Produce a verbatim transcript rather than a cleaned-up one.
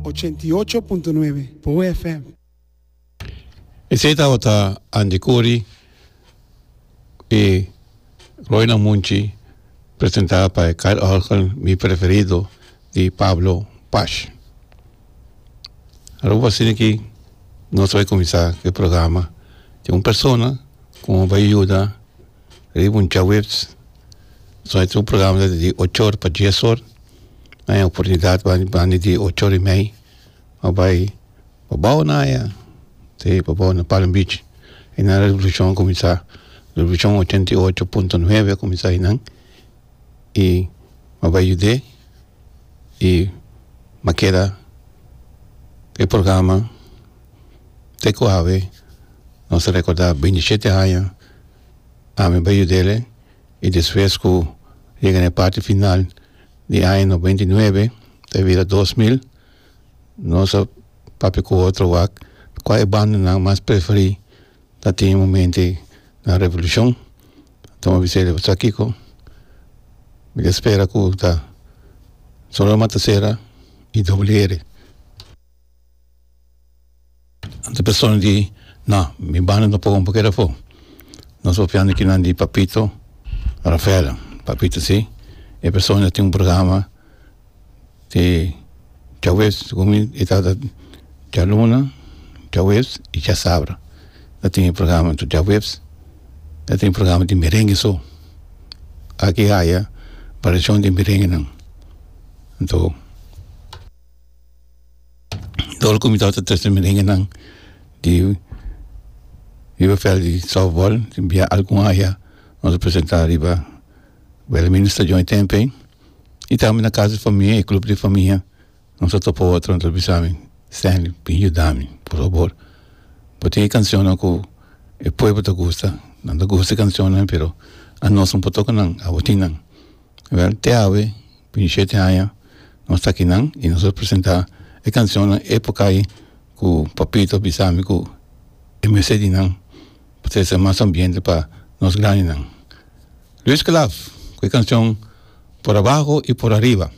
Ochenta i ocho punto nuebe, Bo F M. Esei tabata Andy Curry i Roy Namunchi, presentá pa Kyle Orgel, Mi Preferido, di Pablo Pash. Aruba, asina aki nos ta bai kuminsá e programa. Tin un persona ku bai yuda riba un djaweps. So e un programa di ocho or pa dies or. E oportunidat banda di ocho or i mei. Bai pabou na aya. Si, pabou na Palm Beach. I na Revolushon kuminsá. Revolushon ochenta i ocho punto nuebe kuminsá einan. I bai yuda i m'a keda e programa te ku awe nos ta rekordá binti shete aña ami bai yud'é. I despues ku yega na parti final di aña nobenta i nuebe te bira dos mil, nos a papia ku otro wak kua e bandanan mas preferí ta tin momento na Revolushon. Anto mi bisa: "Sa kiko? Mi ta spera ku ta Sonora Matancera i W R" Anto persona di: "No, mi banda no por keda afó." Nos papiando akinan di Papito Rafaela. Papito, si. E persona tin un programa di djaweps, segun e ta djaluna, djaweps i djasabra. E tin un programa di djaweps, e tin un programa di merengue so. Aki haya variashon di merenguenan. Anto, dor ku mi tabata trese merenguenan di riba veld di softball, bia algun aya nos a presentá riba Wilhelmina Stadion e tempu i tambe na kas di famia i klup di famia. Nos a topa otro, anto bisa mi: "Stanley, bin yuda mi, por fabor. Bo tin kanshon ku e pueblo ta gusta, nan ta gusta kanshon, pero anos no por toka nan, abo tin nan." Wel, te awe, binti shete aña, nos ta akinan i nos a presentá e kanshon époka ei ku Papito a bisa mi ku e mester di nan, pa trese mas ambiente pa nos grandinan. Luis Calaf, ku e kanshon "Por Abajo y Por Arriba".